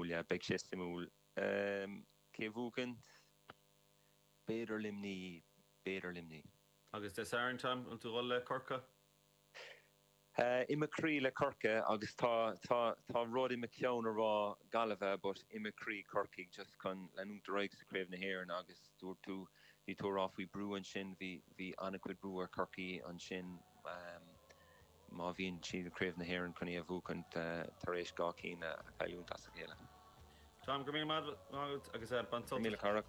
suimiúil, yeah, beidh sé suimiúil. Cé a bhuachann? B'fhéidir Luimní, b'fhéidir Luimní. Agus Dé Sathairn, Tom, an bhfuil tú ag dul le Corcaigh? I mo chroí le Corcaigh agus tá, tá, tá rud i mo cheann a rá Gaillimhe but i mo chroí Corcaigh just chun leanúint ar aghaidh sa Craobh na hÉireann agus dúirt tú, bhí tú a rá faoi brú ansin, bhí, bhí an-chuid brú ar Chorcaigh ansin má bhíonn siad i Craobh na hÉireann chun í a bhuachaint tar éis 2 cinn a chailliúint as a chéile. Tom, go raibh míle maith agat agus bain sult. Míle Carach.